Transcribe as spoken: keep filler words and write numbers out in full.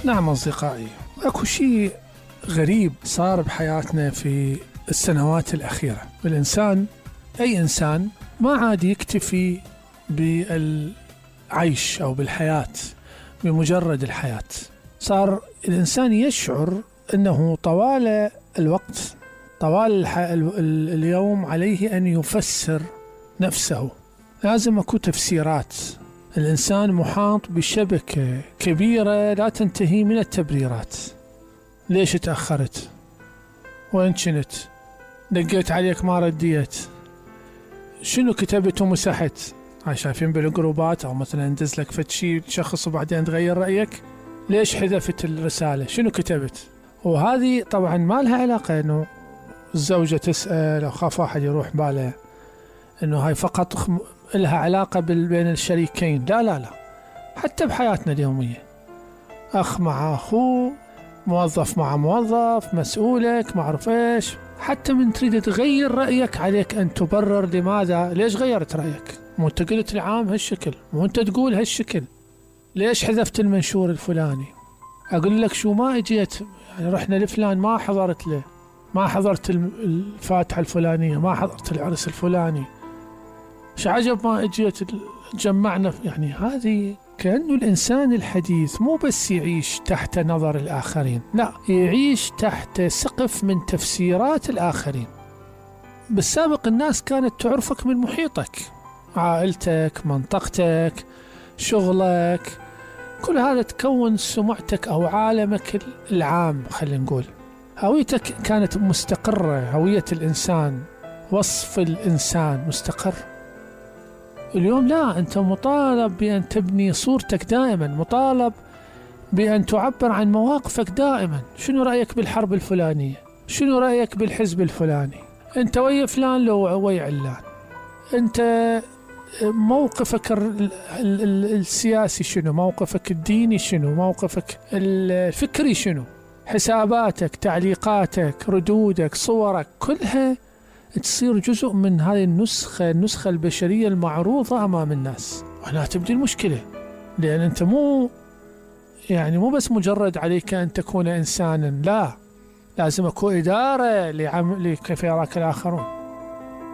نعم أصدقائي، أكو شيء غريب صار بحياتنا في السنوات الأخيرة. الإنسان أي إنسان ما عاد يكتفي بالعيش أو بالحياة بمجرد الحياة. صار الإنسان يشعر أنه طوال الوقت طوال الح... ال... اليوم عليه أن يفسر نفسه. لازم أكو تفسيرات. الإنسان محاط بشبكة كبيرة لا تنتهي من التبريرات. ليش تأخرت؟ وين كنت؟ دقيت عليك ما رديت. شنو كتبت ومسحت؟ هاي شايفين بالجروبات، أو مثلا ندز لك فد شي شخص وبعدين تغير رأيك. ليش حذفت الرسالة؟ شنو كتبت؟ وهذه طبعا ما لها علاقة إنه الزوجة تسأل أو خاف واحد يروح باله إنه هاي فقط لها علاقة بين الشريكين. لا لا لا، حتى بحياتنا اليومية، أخ مع أخوه، موظف مع موظف، مسؤولك، ما أعرف إيش. حتى من تريد تغير رأيك عليك أن تبرر لماذا، ليش غيرت رأيك؟ مو أنت قلت العام هالشكل، مو أنت تقول هالشكل، ليش حذفت المنشور الفلاني؟ أقول لك شو ما إجيت، يعني رحنا لفلان ما حضرت له، ما حضرت الفاتحة الفلانية، ما حضرت العرس الفلاني، شو عجب ما إجيت جمعنا. يعني هذه كأنه الإنسان الحديث مو بس يعيش تحت نظر الآخرين، لا، يعيش تحت سقف من تفسيرات الآخرين. بالسابق الناس كانت تعرفك من محيطك، عائلتك، منطقتك، شغلك، كل هذا تكون سمعتك أو عالمك العام. خلينا نقول هويتك كانت مستقرة، هوية الإنسان، وصف الإنسان مستقر. اليوم لا، أنت مطالب بأن تبني صورتك دائما، مطالب بأن تعبر عن مواقفك دائما. شنو رأيك بالحرب الفلانية؟ شنو رأيك بالحزب الفلاني؟ أنت ويا فلان لو ويا علان؟ أنت موقفك السياسي شنو؟ موقفك الديني شنو؟ موقفك الفكري شنو؟ حساباتك، تعليقاتك، ردودك، صورك، كلها تصير جزء من هذه النسخة النسخة البشرية المعروضة أمام الناس. وهنا تبدي المشكلة، لأن أنت مو يعني مو بس مجرد عليك أن تكون إنسانا، لا، لازم أكون إدارة لعمل كيف يراك الآخرون.